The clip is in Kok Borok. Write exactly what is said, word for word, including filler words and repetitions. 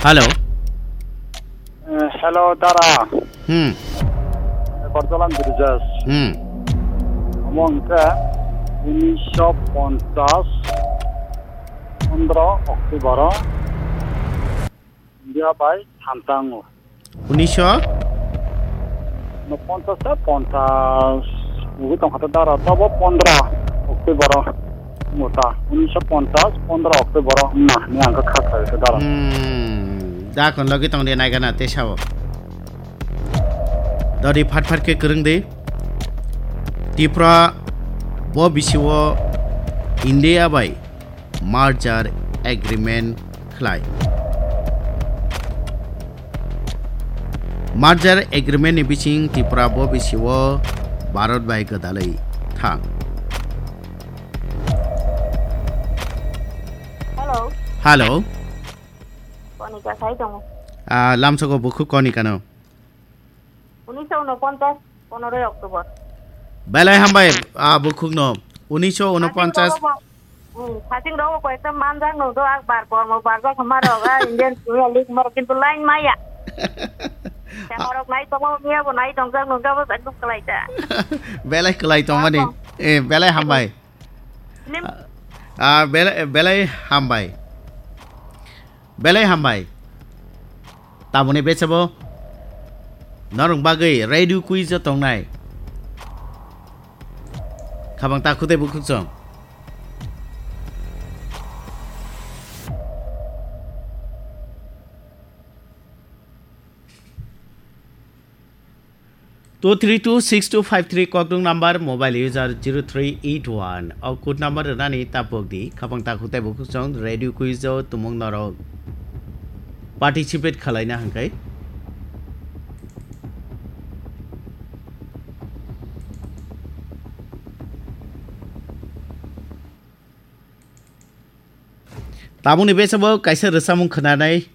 Hello. Eh, hello, dara. Hmm. Kordolam Birjas. Hmm. Omo hwnkhe unisho ponchas pondro October o India bai thantango. Unisho? No, ponchas ta ponchas. Ubi tongkha ta dara, tobo pondro October o. Mota, unisho ponchas, pondro October o. Na, ni ang kha kha kha dara. Hmm. Da kon logi tong de nai gana te sao. Dori phat phat ke kereng de. Tipra bo bisi o India bai merger agreement khlai. Merger agreement ni bising Tripura bo bisi o Bharat bai gwdalwi thang. Hello. Hello. Konika sai tongo. Ah, lamsoko bukhuk Konika no. Unisho unoponchas, ponoroi October. Belai hambai, ah, bukhukno. Unisho unoponchas. Phasing rogo, hmm, phasing rogo koyekta manjak nungdo, ak bar kormo barjak hwnma rok, ah, Indian Premier League hwnma rok, kintu line maya. Temo rok nai tongo, miya bo nai tongjak nungdo, abo ekdom kwlai ta. Belai kwlai tongmani. Tamo. Eh, belai hambai. Film. Ah, belai, belai hambai. Belai hambai. Tamoni bechebo norong bagwi radio quiz o tongnai. Khabang ta khutei bukhuk chong. Two three two six two five three kokdung number, mobile user zero three eight one. O code number rwnani tapok di, khabang takhuk tei bukhuk chong radio quiz o tumung norok participate khalaina hwnkhe. Tabukni bechebo kaisa rwchapmung khwnanai.